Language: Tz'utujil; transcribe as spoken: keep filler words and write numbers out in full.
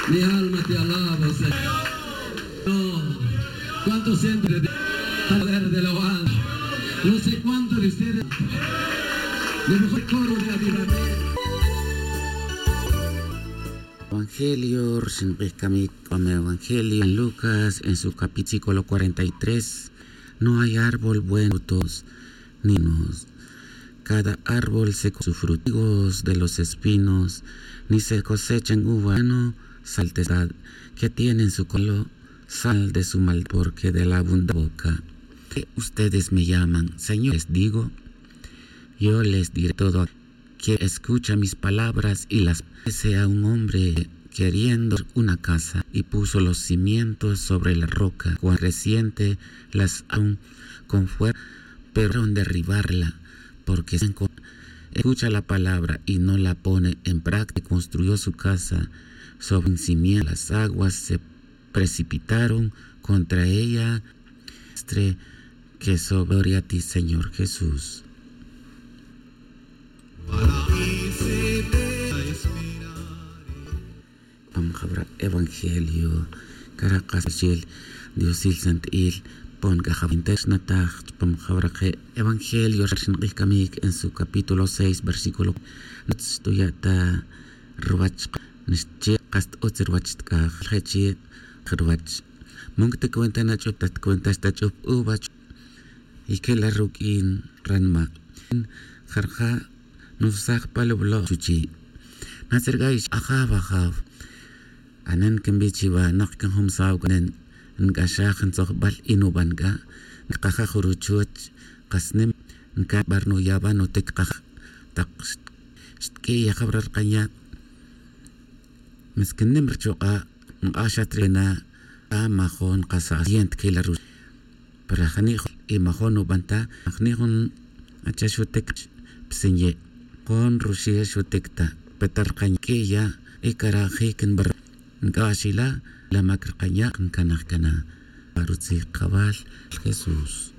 Mi alma te alaba, Señor. No. ¿Cuántos sienten de, de la alabanza? No sé cuántos de ustedes. Le mejor coro de avivamiento. Evangelio, rxin q'ij kamik, Evangelio en Lucas, en su capítulo cuarenta y tres, no hay árbol bueno, frutos, ni nos. Cada árbol se co-, su fruto, higos de los espinos, ni se cosechan uva, no, saltestad, que tienen su colo, sal de su mal, porque de la abundante boca. Que ustedes me llaman, Señor, les digo, yo les diré todo que escucha mis palabras y las sea un hombre queriendo una casa y puso los cimientos sobre la roca, cuando reciente las aun con fuerza, pero fueron derribarla, porque se enco-, escucha la palabra y no la pone en práctica, construyó su casa sobre un cimiento, las aguas se precipitaron contra ella, que sobre gloria a ti, Señor Jesús. Pam jabra evangelio, cara qas chil, Diosil santil, pon c'a jabintex nataj, pam jabra qe evangelio, rxin q'ij kamik en su capítulo seis, versículo, nutz tuya' ta ruwach, nixchi qas t'utz ruwach tk'aj, je' chi ruwach. Mon cta cuenta na ch'up, ta cuenta xta ch'up uva, y que la ruq'uin ranma'. Jarja' nusaj pa lublo' chuchi'. Natzergay, ajaw, ajaw. Anen quinbij chiwa, nak quinjumsaw, nen nc'axaj ntzojbal y nuban c'a, ncakaja' juruchuch, kas nim ncan bar nuyaban nutic kaj, tak xtq'ui' yajaw ra rkanya'. Mas que nim ruchuk'a', nk'axat ri na, a majon qas asiento que la ruch. Pero jani' y majon nuban ta, jani' jun acha xutic psinya'. Jun ruxi' xutic ta, petal rkanya' queya', y cara' jic nbar. Nc'ax ila, la mac rkanya', ncanaj cana. Rutzij kawal, Jesús.